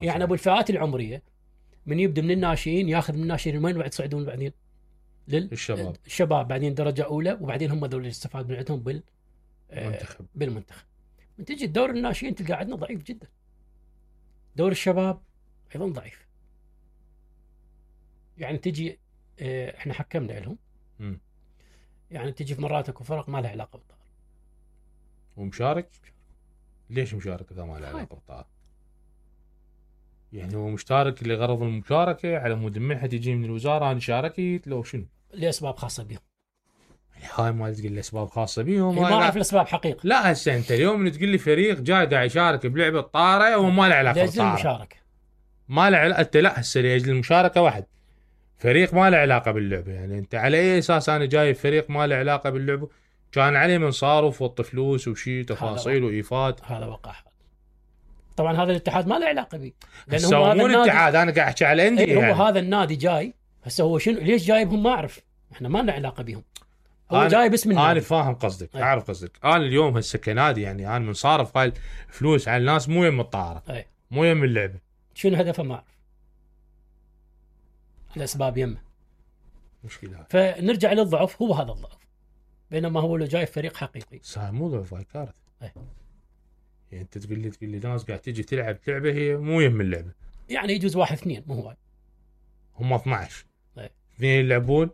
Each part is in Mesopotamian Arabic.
يعني ابو الفئات العمريه من يبدا من الناشئين ياخذ من الناشئين وين بعد يصعدون بعدين الشباب بعدين درجه اولى وبعدين هم ذول اللي يستفاد من عندهم بالمنتخب. من تجي الدور الناشئين تلقى عندنا ضعيف جدا. دور الشباب ايضا ضعيف. يعني تجي احنا حكمنا لهم يعني تجي في مرات اكو فرق ما لها علاقه بالطائره ومشارك. ليش مشارك اذا ما له علاقه بالطائره؟ يعني هو مشترك لغرض المشاركه على مود المنحه تجي من الوزاره انا شاركت لو شنو؟ لاسباب خاصه بهم. هاي ما تقول لي اسباب خاصه بهم. ما اعرف الاسباب حقيقه. لا هسه انت اليوم تقول لي فريق جاي قاعد يشارك بلعبه طاره وما له علاقه بالطاره. المشاركه ما له علاقه. انت لا هسه لاجل المشاركه واحد. فريق ما له علاقه باللعبه. يعني انت على اي اساس انا جاي فريق ما له علاقه باللعبه؟ كان عليه من صارف وط فلوس وشي تفاصيل وايفاد. هذا وقع. طبعا هذا الاتحاد ما له علاقه به لانه هو هذا الاتحاد. انا قاعد احكي على الانديه. هو يعني. هذا النادي جاي هسه هو شنو ليش جايبهم ما اعرف. احنا ما لنا علاقه بهم. هو جاي باسم النادي. انا فاهم قصدك. اعرف قصدك. انا اليوم هسه كنادي يعني انا من صارف هاي فلوس على الناس مو يم الطائره مو يم اللعبه. شنو هدفه ما اعرف. الاسباب يمه مشكله. فنرجع للضعف. هو هذا الضعف بينما هو لو جاي فريق حقيقي صار مو ضعف هاي كارثه. يعني انت تقول لي ناس قاعد تيجي تلعب لعبه هي مو يم اللعبه. يعني يجوز 1-2 مو هواي. هم 12 اثنين يلعبون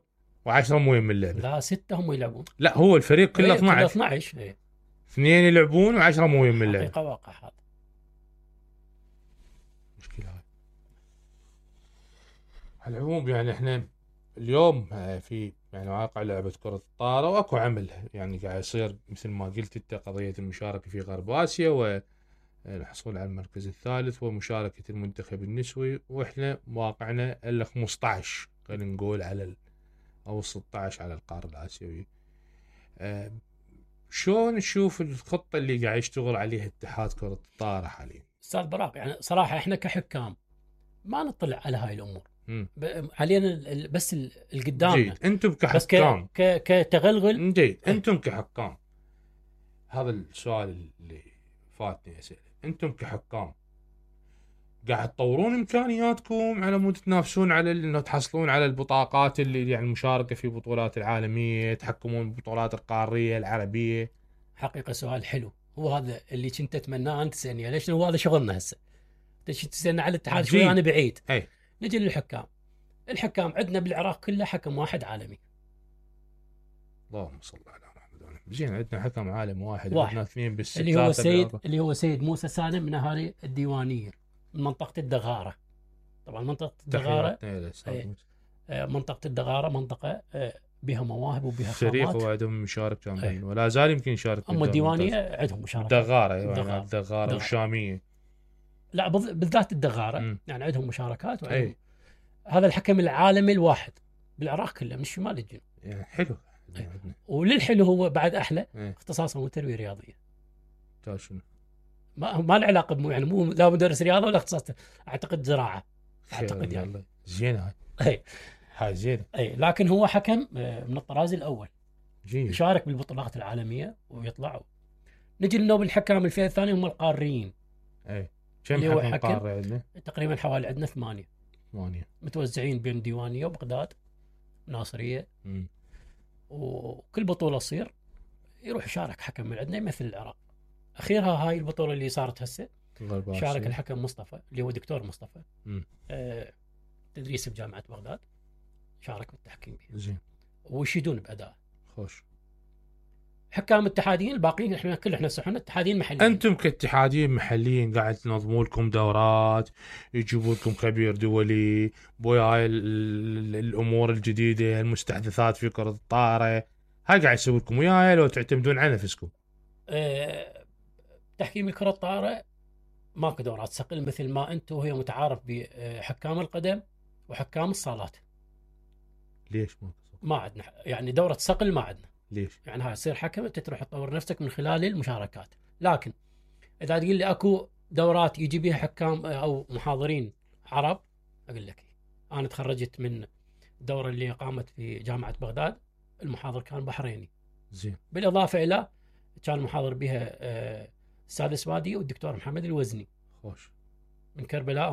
و10 مو يم اللعبه. لا 6 هم يلعبون. لا هو الفريق كله 12 اثنين يلعبون و10 مو يم اللعبه. حقيقه واقع هذا. مشكله هاي. على العموم يعني احنا اليوم في يعني واقع لعبة كرة الطائرة واكو عمل يعني قاعد يصير مثل ما قلت انت قضية المشاركة في غرب اسيا والحصول على المركز الثالث ومشاركة المنتخب النسوي واحنا واقعنا الا 15 خلينا نقول على او 16 على القارة الاسيوية. شلون تشوف الخطة اللي قاعد يشتغل عليها اتحاد كرة الطائرة حاليا؟ استاذ براق يعني صراحة احنا كحكام ما نطلع على هاي الامور. علينا بس القدام. جيد. انتم كحكام كتغلغل. جيد. انتم كحكام هذا السؤال اللي فاتني اسئله. انتم كحكام قاعد تطورون امكانياتكم على مود تنافسون على انه تحصلون على البطاقات اللي يعني المشاركه في بطولات العالميه تحكمون بالبطولات القاريه العربيه؟ حقيقه سؤال حلو. هو هذا اللي كنت اتمناه انت تسالني ليش هو هذا شغلنا هسه. تسالنا على الاتحاد شوي انا بعيد. نجي للحكام. الحكام عندنا بالعراق كله حكم واحد عالمي. اللهم صل على محمد. زين عندنا حكم عالم واحد. عندنا اثنين بالست. اللي هو سيد موسى سالم من اهالي الديوانيه من منطقه الدغاره. طبعا منطقه الدغاره منطقه الدغاره منطقه بها مواهب وبها خامات. فريق هو عندهم مشارك كان ولا زال يمكن يشارك. اما الديوانيه عندهم مشاركه. الدغاره والشاميه. لا بالذات الدغاره يعني عندهم مشاركات هذا الحكم العالمي الواحد بالعراق كله من الشمال للجنوب. يعني حلو. وللحلو هو بعد احلى اختصاصه هو تربيه رياضيه. شنو؟ ما له علاقه يعني مو لا مدرس رياضه ولا اختصاص. اعتقد زراعه. اعتقد يعني زين هاي زين. لكن هو حكم من الطراز الاول. جيد. يشارك بالبطولات العالميه ويطلعوا. نجي لنوب الحكام الفئه الثانيه هم القاريين. كم حكم قاري عندنا؟ تقريبا حوالي عندنا 8 متوزعين بين ديوانيه وبغداد ناصريه. وكل بطوله تصير يروح يشارك حكم من عندنا يمثل العراق. اخيرها هاي البطوله اللي صارت هسه شارك الحكم مصطفى اللي هو دكتور مصطفى. تدريس بجامعه بغداد. شارك بالتحكيم فيه. زين. ويشيدون باداء. خوش. حكام اتحاديين الباقيين احنا صحنا اتحاديين محليين. انتم كاتحاديين محليين قاعد تنظموا لكم دورات يجيبوا لكم خبير دولي بويا الامور الجديده المستحدثات في كره الطائره هاي قاعد يسوي لكم وياها لو تعتمدون على نفسكم؟ تحكيم الكره الطائره ماكو دورات صقل مثل ما انتم وهي متعارف بحكام القدم وحكام الصالات. ليش ما عندنا يعني دوره صقل ما عندنا. ليش؟ يعني هاي تصير حكم انت تروح تطور نفسك من خلال المشاركات. لكن اذا تقول لي اكو دورات يجي بها حكام او محاضرين عرب اقول لك انا تخرجت من الدوره اللي قامت في جامعه بغداد. المحاضر كان بحريني. زين. بالاضافه الى كان محاضر بها السادس وادي والدكتور محمد الوزني. خوش. من كربلاء